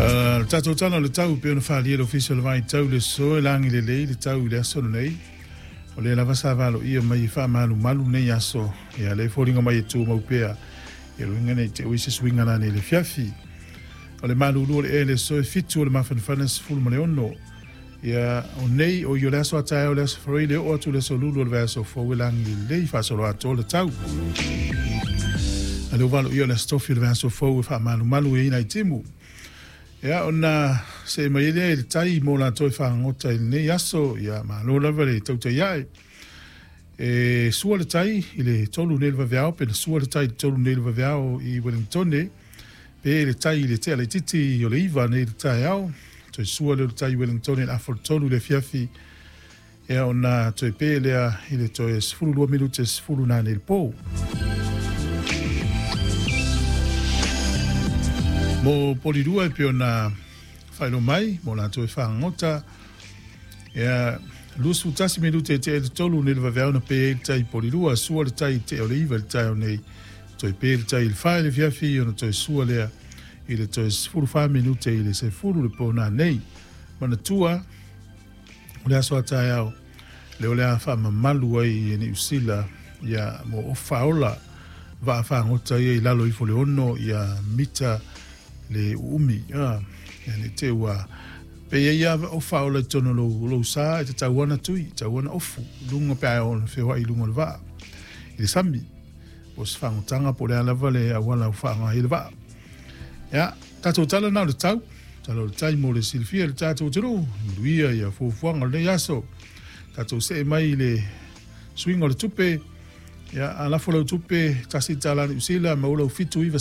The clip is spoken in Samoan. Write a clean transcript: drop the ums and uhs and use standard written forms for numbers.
Le tatou tala o le tau pei ona faaalia e le Ofisa o le Vaitau i le aso e lagi lelei le tau i le aso lenei. O lea lava sa valoia mai e faamalumalu nei aso, ia lea e foliga mai e tumau pea, ia luiga nei te ui se suiga lana i le afiafi. O le malulu o le ea i le aso e 7 o le mafanafana 16. Ia o nei o i o le aso a taeao le aso Faraile le oo atu le aso Lulu o le vaiaso fou e lagi lelei faasoloatoa le tau. A lea ua valoia o le aso Tofi o le vaiaso fou e faamalumalu ai nai timu. Ia ona see mai ai lea i le tai mo latou e fagogota i lenei aso, ia malo lava le tautai ae. E sua le tai i le 3 nei le vaveao, pe na sua le tai i le 3 nei le vaveao i Wellingtone, pe le tai i le tea laitiiti o le 9 nei le taeao, toe sua lea o le tai i Wellingtone i le afa o le 3 i le afiafi, ia ona toe pe lea i le toe 12 minute 10 na nei le po. Mo Polirua e pei ona faailoa mai mo latou e fagogota, ia 21 minute e tea i le 3 nei le vaveao na pe ai le tai i Polirua, sua le tai i tea o le 9 i le taeao nei, toe pe le tai i le 4 i le afiafi ona toe sua lea i le toe 14 minute i le 10 le po nanei. Manatua, o le aso a taeao lea o le a faamamalu ai e Niu Sila ia mo ofa faaola vaa fagota ia i lalo ifo le 6 ia mita le uumi. Ia ne te ua pe ia ia ofa faaola i totonu o lou sa e tatau ana tui, tatau ana ofu, lunga pe a o feoai i luga o le vaa i le sami. Po o se fagotaga po o le a lava le auala o faaaoga ai le vaa. Ia, tatou tala na o le tau, tala o le tai mo le silafia i le tatou atunuu, manuia ia fuafuaga o lenei aso. Tatou see mai i le suiga o le tupe, ia, a lafo lau tupe, $1 Niu Sila, maua lau 79